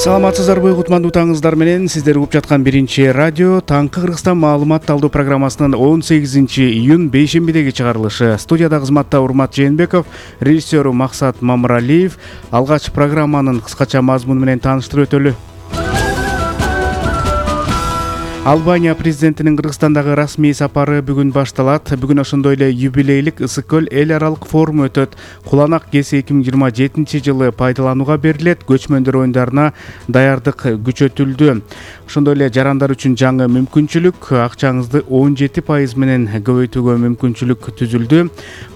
Саламатсыздарбы кутмандуу таңыңыздар менен сиздер угуп жаткан биринчи радио Таңкы Кыргызстан маалымат талдоо программасынын 18-июнь бейшембидеги чыгарылышы. Студияда кызматта Урмат Жээнбеков, режиссеру Максат Мамыралиев. Алгач программанын кыскача мазмуну менен тааныштырып өтөлү. Албания президентинин Кыргызстандагы расмий сапары бүгүн башталат. Бүгүн ошондой эле юбилейлик Ысык көл эл аралык форуму өтөт. Куланак кеси 2027-жылы пайдаланууга берилет. Көчмөндөр оюндарына даярдык күчөтүлдү. Ошондой эле жарандар үчүн жаңы мүмкүнчүлүк, акчаңызды 17% менен көбөйтүүгө мүмкүнчүлүк түзүлдү.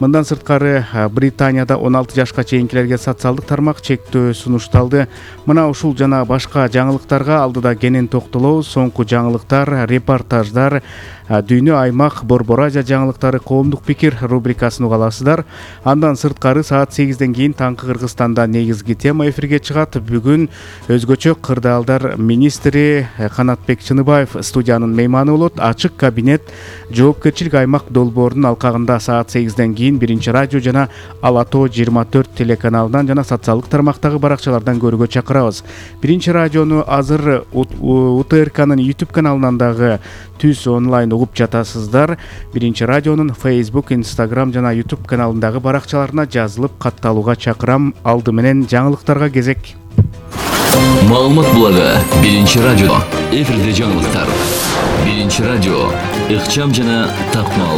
Мындан сырткары Британияда 16 жашка чейинкилерге социалдык тармак чектөө сунушталды. Мына ушул жана башка жаңылыктарга алдыда кенен токтолобуз. Соңку жаңылыктар, репортаждар, дүйнө, аймак, Борбор Азия жаңылыктары, коомдук пикир рубрикасын уга аласыздар. Андан сырткары саат 8ден кийин Таңкы Кыргызстанда негизги тема эфирге чыгат. Бүгүн өзгөчө кырдаалдар министри Канатбек Чыныбаев студиянын мейманы болот. Ачык кабинет жоопкерчилик аймак долбоорунун алкагында саат 8ден кийин биринчи радио жана Ала Тоо 24 телеканалынан жана социалдык тармактагы баракчалардан көрүүгө чакырабыз. Биринчи радиону азыр УТРКнын YouTube каналынан дагы түз онлайн угуп жатасыздар. Биринчи радионун Facebook, Instagram жана YouTube каналындагы баракчаларына жазылып катталууга чакырам. Алды менен жаңылыктарга кезек. Маалымат булагы биринчи радио. Эфирде жаңылыктар. Биринчи радио. Ыкчам жана так маалымат.